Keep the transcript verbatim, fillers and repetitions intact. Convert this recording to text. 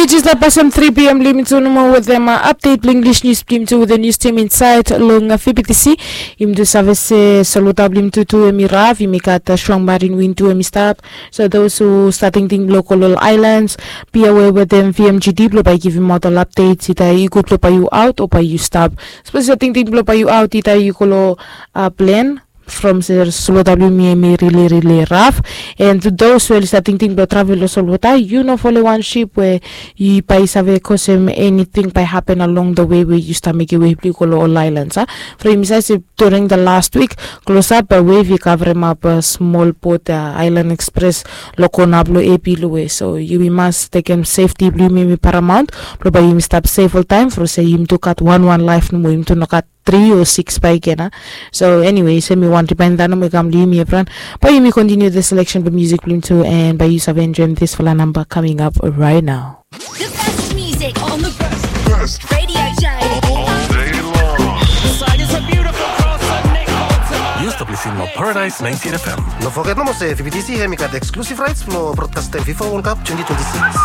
Jis long pasem tri p m blong yumi tu nomo wetem update blong English news blong yumi tu wetem news team insait long fbtc. Yumi tu save se solwota blong yumi tu tu em i raf, yumi gat strong marin win tu em i stap. So those who start tingting blong go long ol islands, be aware wetem vmgd blong bae givim aot ol updates, ita i gud blong bae yu aot o bae yu stap. Sapos yu start tingting blong bae yu aot, ita i go long plen from se solwota blong yumi em i rili rili raf. And to those we oli stap tingting blong travel long solwota, yu no folem wan ship we yu bae i save kosem eniting bae hapen along the way we yu stap mekem wei blong yu go long ol islands a. From yumi save se during the last week, klosap bae wave i kavremap smol bot island express long kona blong epi long we. So yumi mas tekem sefti blong yumi em i paramaont blong bae yumi stap sef oltaem, from se yumi tu gat wan wan laef nomo, yumi tu no gat tri o siks bae i gena. So anyway, se mi wan rimainda nomo i kam long yumi evriwan. Bae yumi kontiniu the selection blong music blong yumi tu, and bae yu save enjoem disfala namba coming up right now. The best music on the best radio show all day long. Yu stap listening long Paradise ninety-eight F M. No foget nomo se fbtc hem i gat exclusive rights blong broadcastem fifa World Cup twenty twenty-six.